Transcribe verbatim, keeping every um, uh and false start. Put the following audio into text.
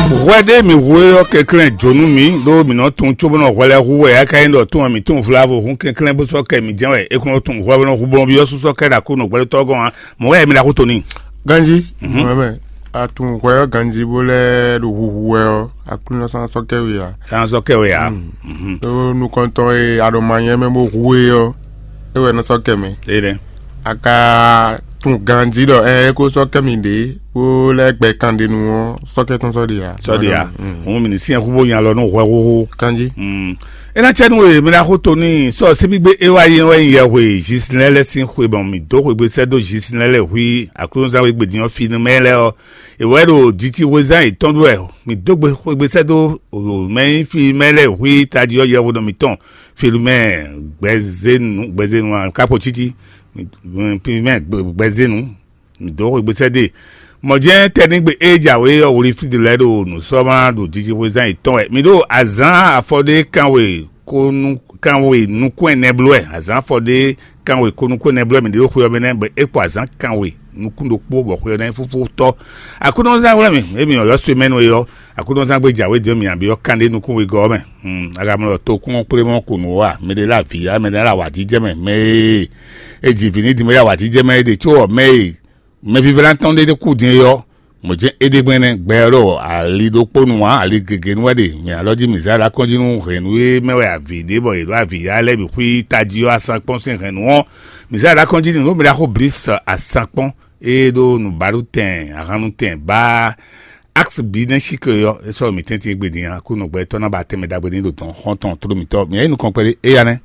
Hwɛ ɖé mǐ hu é ɔ́, kɛnklɛ́n jǒnú mǐ, ɖó mǐ nɔ tunwun cóbɔ nɔ hwɛ lɛ́ɛ hu wɛ, é ka nyí ɖɔ tún wɛ mǐ tunwun vlavo hǔn kɛnklɛ́n bó sɔ́ kɛ mǐ jɛ́n wɛ. É kún nɔ tunwun hwɛ bó nɔ hu bɔn byɔ́ sú sɔ́ kɛ ɖo Aklúnɔ gbɛɖótɔ́ gɔ́n ǎ. Mɔ̌ wɛ mi ɖo axú tɔn n'i? Ganjí, Mhm. Mɔ̌mɛ, a tunwun hwɛ ɔ́ ganjí bó lɛ́ ɖo huhu wɛ ɔ́, Aklúnɔ sán sɔ́ kɛ we ǎ. Sán sɔ́ kɛ we ǎ. Mhm. Ɖó nukɔntɔn e a ɖo ma nyɛ mɛ bó hu é ɔ́, é wɛ nɔ sɔ́ kɛ mɛ. É nɛ́. A ka tunwun ganjí ɖɔ ɛ é kó sɔ́ kɛ mì ɖě bó lɛ́ gbɛ kanɖenu ɔ́, sɔ́ kɛ tɔn sɔ́ ɖe ǎ. Sɔ́ ɖe ǎ. Mm. Hǔn mǐ ní syɛ́n xú bó nya lɔ nú hwɛhuhu. Kanjí. Mm. É ná cɛ nú we, mi ná xú to n'i sɔ síbígbe é wá yé wɛ nyí yɛhwe Zisinɛ lɛ́ɛ sín xwe bɔn mǐ dó xwegbe sɛ́ dó Zisinɛ lɛ́ɛ hwí Aklúnɔzán we gbedin ɔ́ fi nú mɛ lɛ́ɛ ɔ́. È wɛ ɖo jicihwezán yětɔn ɖu wɛ. Mǐ dó gbe xwegbe sɛ́ dó mɛ e nyí fi mɛ lɛ́ɛ hwí tají ɔ́ yɛhwe nɔ mǐtɔn Filumɛ gbɛzénu gbɛzénu kápo títí. Filumɛ gbɛzénu. Mǐ dó xwegbe sɛ́ dó e. Mɔ̌ jɛ́n tɛ́nɖígbe e jǎwe ɔ́ wlí fí ɖé lɛ́ɛ ɖo nǔsɔ́mla ɖo jijixwezán yětɔn wɛ. Mǐ ɖo azǎn afɔ ɖé kanwe kónú kanwe nukún ɛnɛ bló wɛ. Azǎn afɔ ɖé kanwe kónúkún ɛnɛ bló wɛ mǐ ɖe ɖo xwe ɔ́ mɛ nɛ́, bɔ é kpo azǎn kanwe nukún ɖokpó bɔ xwe ɔ́ ná nyí fúfú tɔ́. Aklúnɔzán hwlɛ́n mì, émi ɔ́ yɔ́ swe mɛ nú é ɔ́, Aklúnɔzán gbé jǎwe dó mì abǐ ɔ́ kánɖé nukún wegɔ́ ɔ́ mɛ. Hmm, agamlɔ tokún ɔ́ kplé mɔ ko nǔ wá, mɛ ɖé lé avǐ yá, mɛ ɖé lé awǎjijɛ mɛ, mɛ e è ji vǐ ní din bó yá awǎjijɛ mɛ é ɖe có ɔ́, mɛ e mɛvívla tɔn ɖé kú din é ɔ́, mɔ̌ jɛ́n é ɖe gbɛn nɛ́, gbɛ ɔ́ ɖo ali ɖokpó nu ǎ, ali gěgé nu wɛ ɖe. Mɛ alɔ jí mǐ zá ɖo akɔ́njí nú hɛ̌nnu e mɛ wɛ avǐ ɖe bɔ yě ɖo avǐ yá lɛ́ɛ bǐ xwí tají ɔ́ asankpɔ́n sín hɛ̌nnu ɔ́, mǐ zá ɖo akɔ́njí nú mǐ ɖo axó blǐ asankpɔ́n e ɖo nǔbaɖutɛn ahannutɛn bá Axe bǐ nɛ́ sí ke ɔ́, é sɔ́ mǐ tɛ́ntin égbé din ǎ, kú nɔgbɛ́tɔ́ ná ba tɛnmɛ ɖagbe ní ɖo dɔ̌n xɔ́ntɔn tló mǐtɔn. Mǐ yí nukɔn kpɛɖé éyá nɛ́.